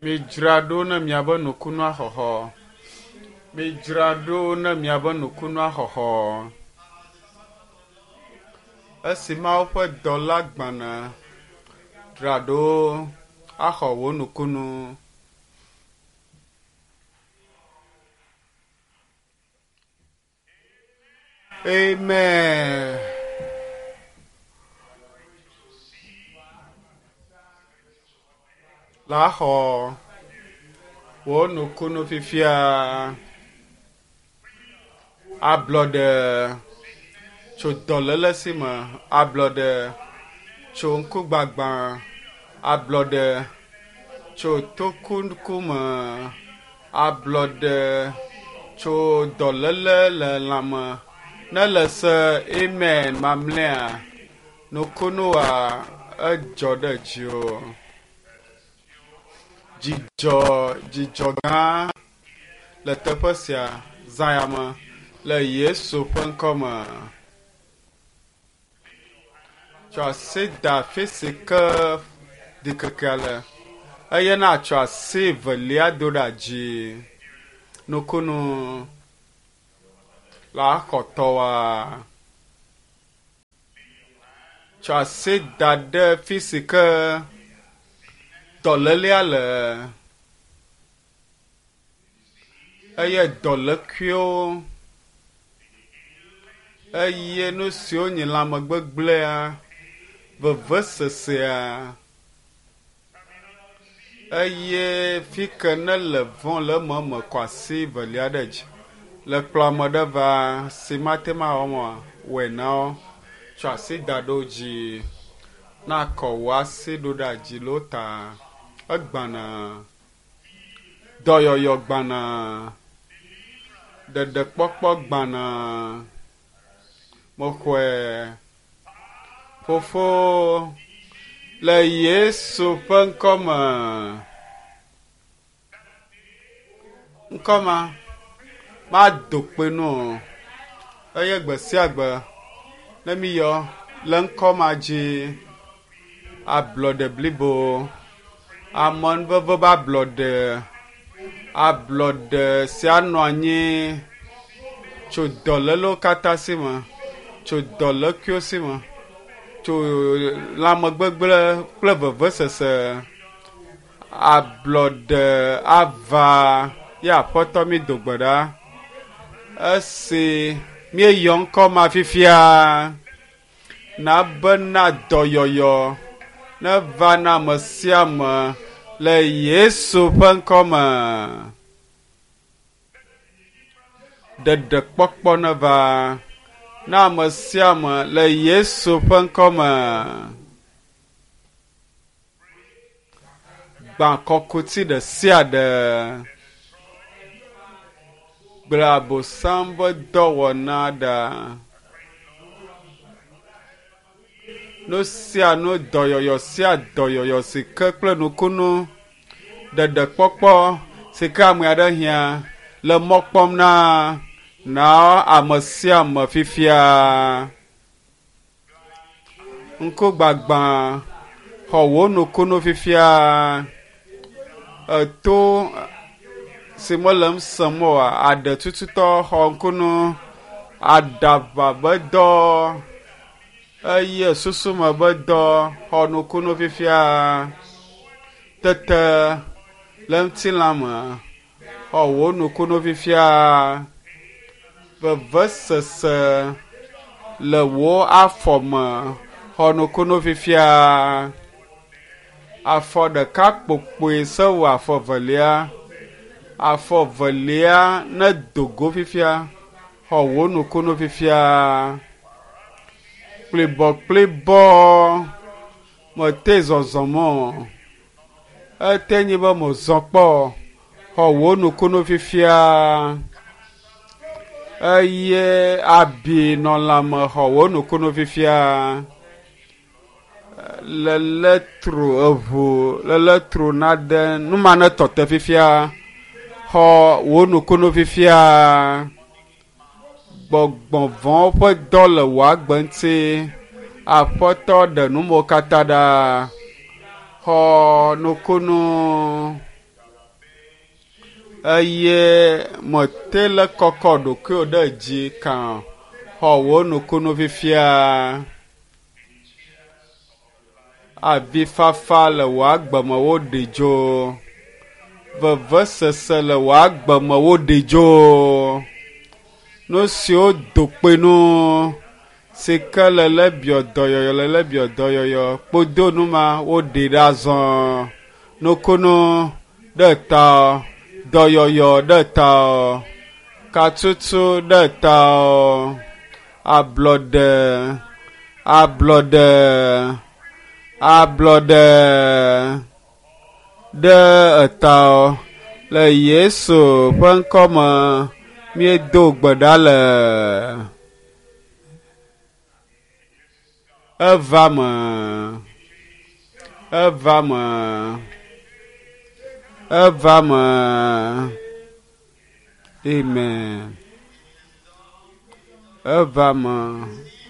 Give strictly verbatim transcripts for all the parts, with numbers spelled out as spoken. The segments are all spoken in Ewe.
Midzra ɖo ne miabe nukunua xɔxɔ. Midzra ɖo ne miabe nukunua xɔxɔ. Esi Mawu ƒe dɔla gbana, dzra ɖo axɔ wò nukunu. Amen. La xɔ wò nukunu fifia. Ablɔɖe tso dɔléle si me, ablɔɖe tso ŋkugbagba, ablɔɖe tso tokuku me, ablɔɖe tso dɔléle le lãme. Ne le se amen mamlɛa, nukunua edzɔ ɖe dziwò. Dzidzɔ, dzidzɔ gã le teƒe sia zã ya me le Yesu ƒe ŋkɔme. Tsɔ asi da afi si ke ɖikekea le eye natsɔ asi velia do ɖe dzi. Nukunu la xɔ tɔwoa. Tsɔ asi da ɖe fi si ke dɔlélea le eye dɔlékuiwo eye nu siwo nye lãmegbegblẽa, vevesesea eye fi ke ne le vɔ̃ le eme kɔ asi velia ɖe dzi. Le kplɔ ame ɖe va si mate ŋu awɔ oa, wɔe na wo. Tsɔ asi da ɖe wo dzi. Na kɔ wò asi ɖo ɖe dzi le wo ta. Egbana. Dɔyɔyɔ gbana. Ɖeɖekpɔkpɔ gbana. Mexɔe. Fofo le Yesu ƒe ŋkɔme. Ŋkɔma mado kpe nu o. Eye gbe sia gbe ne miyɔ le ŋkɔ ma dzi ablɔɖe blibo, amenuveve be ablɔɖe, ablɔɖe sia nɔ anyi tso dɔlélewo katã si me, tso dɔlékuiwo si me, tso lãmegbegblẽ kple vevesese. Ablɔɖe ava ye aƒetɔ mi do gbe ɖa. Esi míeyɔ ŋkɔ ma fifia, na bena dɔyɔyɔ neva na ame sia ame le Yesu ƒe ŋkɔme. Ɖeɖekpɔkpɔ neva na ame sia ame le Yesu ƒe ŋkɔme. Gbã kɔkuti ɖe sia ɖe. Gblẽ Abosam ƒe dɔwɔna ɖa. Nu sia nu dɔyɔyɔ sia dɔyɔyɔ si ke kple nukunu ɖeɖekpɔkpɔ si ke ame aɖe hiã le mɔ kpɔm na na ame sia ame fifia. Ŋkugbagba xɔ wò nukunu fifia. Eto si mele ŋu sem oa, aɖe tututɔ xɔ ŋkunu, aɖaʋa be dɔ eye susume be dɔ xɔ nukunu fifia. Tete le ŋutilã me xɔ wò nukunu fifia. Vevesese le wò afɔ me xɔ nukunu fifia. Afɔ ɖeka kpokpoe se wɔ afɔ velia. Afɔ velia nedo go fifia. Xɔ wò nukunu fifia. Kplibɔ kplibɔ mete zɔzɔm o. Ete nyi be mezɔ kpɔ. Xɔ wò nukunu fifia. Eye abi nɔ lãme xɔ wò nukunu fifia. Le letro eʋu le letro nade nu ma ne tɔ te fifia. Xɔ wò nukunu fifia. Gbɔgbɔ vɔ̃wo ƒe dɔ le wò agbe ŋuti. Aƒetɔ ɖe numewo katã ɖa. Xɔ nukunu. Eye mete le kɔkɔ ɖokuiwò ɖe dzi kan xɔ wò nukunu fifia. Avifafa le wò agbe me woɖi dzo. Vevesese le wò agbe me woɖi dzo. Nu siwo do kpe nu si ke le le biɔ dɔyɔyɔ le le biɔ dɔyɔyɔ kpodo nu ma woɖi ɖe azɔ. Nukunu ɖe ta dɔyɔyɔ ɖe ta katutu ɖe ta ablɔɖe ablɔɖe ablɔɖe ɖe eta le Yesu ƒe ŋkɔme míedo gbe ɖa le eva me eva me eva me amen eva me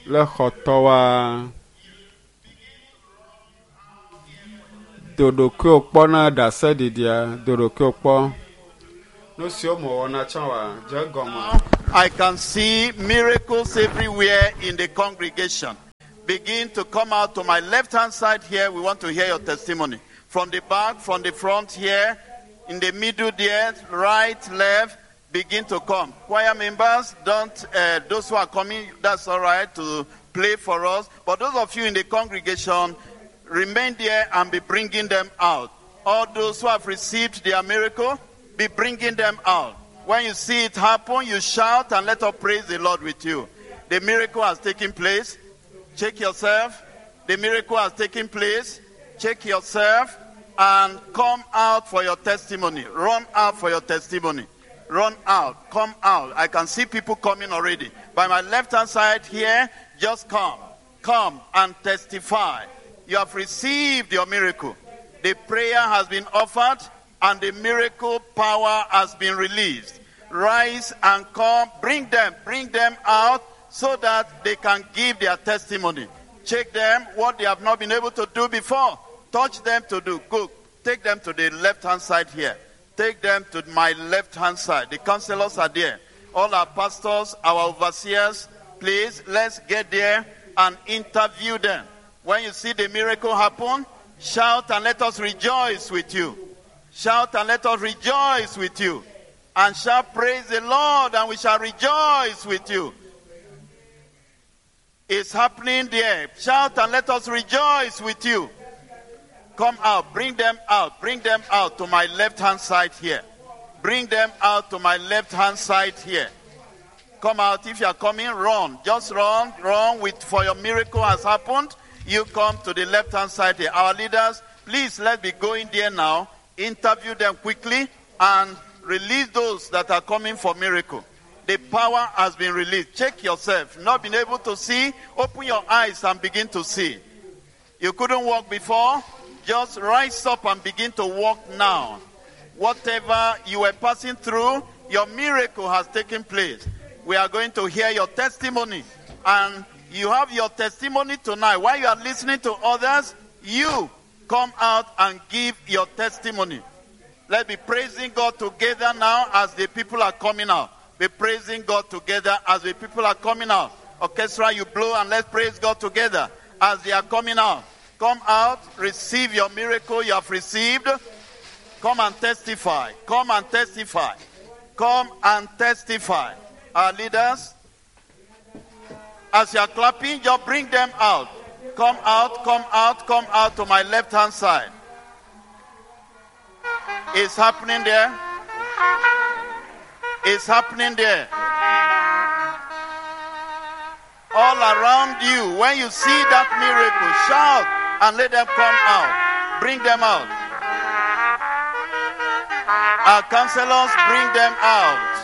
le xɔtɔwa do ɖokuiwò kpɔ na ɖaseɖiɖia do ɖokuiwò kpɔ nu siwo mewɔna tsã wa dze egɔme. I can see miracles everywhere in the congregation. Begin to come out to my left hand side here. We want to hear your testimony. From the back, from the front here, in the middle there, right, left, begin to come. Choir members, don't, uh, those who are coming, that's all right to play for us. But those of you in the congregation, remain there and be bringing them out. All those who have received their miracle, be bringing them out. When you see it happen, you shout and let us praise the Lord with you. The miracle has taken place. Check yourself. The miracle has taken place. Check yourself and come out for your testimony. Run out for your testimony. Run out. Come out. I can see people coming already. By my left hand side here, just come. Come and testify. You have received your miracle. The prayer has been offered and the miracle power has been released. Rise and come. Bring them. Bring them out so that they can give their testimony. Check them what they have not been able to do before. Touch them to do. Go. Take them to the left hand side here. Take them to my left hand side. The counselors are there. All our pastors, our overseers, please, let's get there and interview them. When you see the miracle happen, shout and let us rejoice with you. Shout and let us rejoice with you. And shall praise the Lord and we shall rejoice with you. It's happening there. Shout and let us rejoice with you. Come out. Bring them out. Bring them out to my left hand side here. Bring them out to my left hand side here. Come out. If you are coming, run. Just run. Run with for your miracle has happened. You come to the left hand side here. Our leaders, please let's be going there now. Interview them quickly and release those that are coming for miracle. The power has been released. Check yourself. Not been able to see, open your eyes and begin to see. You couldn't walk before, just rise up and begin to walk now. Whatever you were passing through, your miracle has taken place. We are going to hear your testimony. And you have your testimony tonight. While you are listening to others, you come out and give your testimony. Let's be praising God together now as the people are coming out. Be praising God together as the people are coming out. Orchestra, you blow and let's praise God together as they are coming out. Come out, receive your miracle you have received. Come and testify. Come and testify. Come and testify. Our leaders, as you are clapping, just bring them out. Come out, come out, come out to my left hand side. It's happening there. It's happening there. All around you, when you see that miracle, shout and let them come out. Bring them out. Our counselors, bring them out.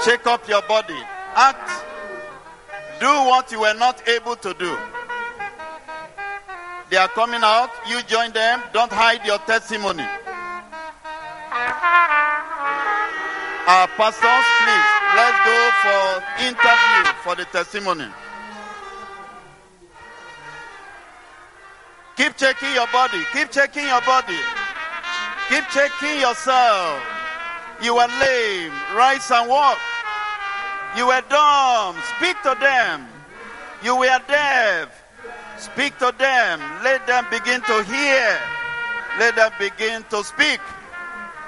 Shake up your body. Act. Do what you were not able to do. They are coming out. You join them. Don't hide your testimony. Our pastors, please, let's go for interview for the testimony. Keep checking your body. Keep checking your body. Keep checking yourself. You were lame. Rise and walk. You were dumb. Speak to them. You were deaf. Speak to them. Let them begin to hear. Let them begin to speak.